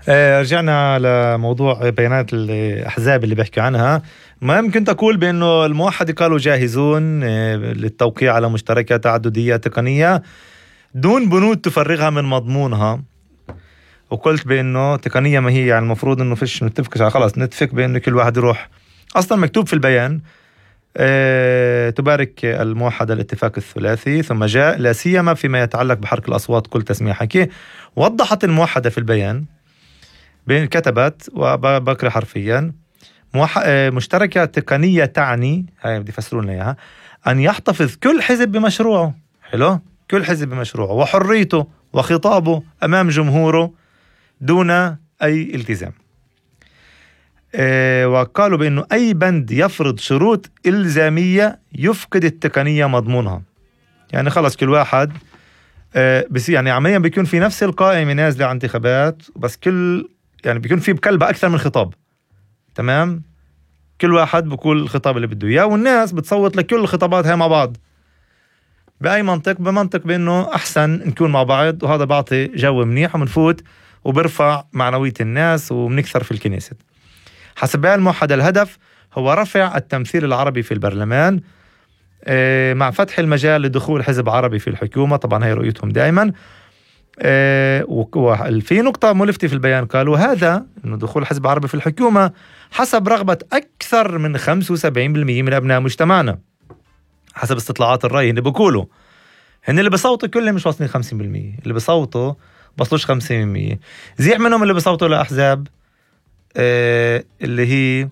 رجعنا لموضوع بيانات الأحزاب اللي بيحكي عنها. ما يمكن تقول بأنه الموحدة قالوا جاهزون للتوقيع على مشتركات تعددية تقنية دون بنود تفرغها من مضمونها، وقلت بأنه تقنية ما هي يعني المفروض أنه فيش نتفق خلاص نتفق بأنه كل واحد يروح. أصلا مكتوب في البيان تبارك الموحدة الاتفاق الثلاثي ثم جاء لا سيما فيما يتعلق بحرك الأصوات كل تسمية حكي. وضحت الموحدة في البيان كتبت وبقرأ حرفيا مشتركة تقنية تعني، هاي بدي يفسرون لنا إياها، أن يحتفظ كل حزب بمشروعه، حلو، كل حزب بمشروعه وحريته وخطابه أمام جمهوره دون أي التزام. وقالوا بأنه أي بند يفرض شروط إلزامية يفقد التقنية مضمونها. يعني خلص كل واحد بس يعني عمليا بيكون في نفس القائمة نازلة عن انتخابات، بس كل يعني بيكون في بكلبة أكثر من خطاب، تمام، كل واحد بقول الخطاب اللي بده إياه والناس بتصوت لكل الخطابات هاي مع بعض. بأي منطق؟ بمنطق بأنه أحسن نكون مع بعض، وهذا بعطي جو منيح ومنفوت وبرفع معنوية الناس وبنكثر في الكنيسة. حسب الموحدة الهدف هو رفع التمثيل العربي في البرلمان مع فتح المجال لدخول حزب عربي في الحكومة. طبعا هي رؤيتهم دائما. وفي نقطة ملفتة في البيان قالوا هذا إنه دخول حزب عربي في الحكومة حسب رغبة أكثر من 75% من أبناء مجتمعنا، حسب استطلاعات الرأي. اللي بقولوا هن اللي بصوتوا كلهم مش واصلين 50%، اللي بصوتوا بصلوش 50%. زيح منهم اللي بصوتوا لأحزاب اللي هي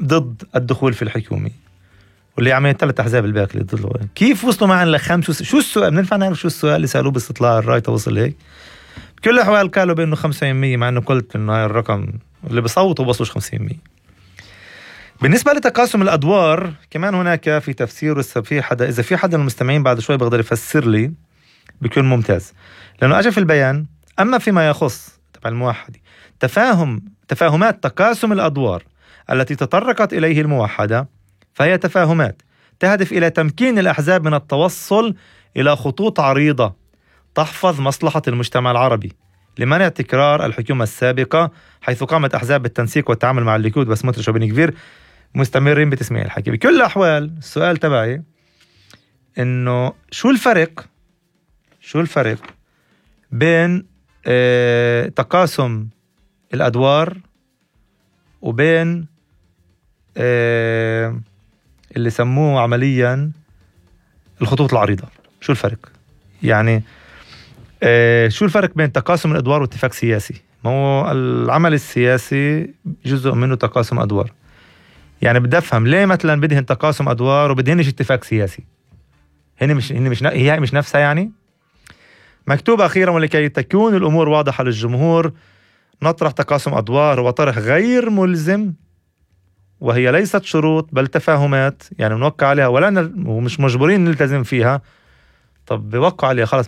ضد الدخول في الحكومة، واللي عملت 3 أحزاب الباقي اللي ضد. كيف وصلوا معنا شو السؤال؟ بننفع نعرف شو السؤال اللي سألوه باستطلاع الرأي توصل هيك؟ بكل الأحوال قالوا بأنه 50%، مع أنه قلت إنه هاي الرقم اللي بصوتوا بصلوش 50%. بالنسبة لتقاسم الأدوار كمان هناك في تفسير، إذا في حدا من المستمعين بعد شوي بقدر يفسر لي بيكون ممتاز، لأنه أجى في البيان أما فيما يخص تبع الموحدة تفاهمات تقاسم الأدوار التي تطرقت إليه الموحدة، فهي تفاهمات تهدف إلى تمكين الأحزاب من التوصل إلى خطوط عريضة تحفظ مصلحة المجتمع العربي لمنع تكرار الحكومة السابقة، حيث قامت أحزاب التنسيق والتعامل مع الليكود وسموتريتش وبن كفير مستمرين بتسميع الحكي. بكل الأحوال السؤال تبعي إنه شو الفرق بين تقاسم الأدوار وبين اللي سموه عمليا الخطوط العريضة؟ شو الفرق؟ يعني شو الفرق بين تقاسم الأدوار واتفاق سياسي؟ ما هو العمل السياسي جزء منه تقاسم أدوار. يعني بدي أفهم ليه مثلا بدهن تقاسم أدوار وبدهنش اتفاق سياسي؟ هي مش نفسها. يعني مكتوب أخيرا ولكي تكون الأمور واضحة للجمهور نطرح تقاسم أدوار وطرح غير ملزم، وهي ليست شروط بل تفاهمات، يعني نوقع عليها ومش مجبورين نلتزم فيها. طب بوقع عليها خلاص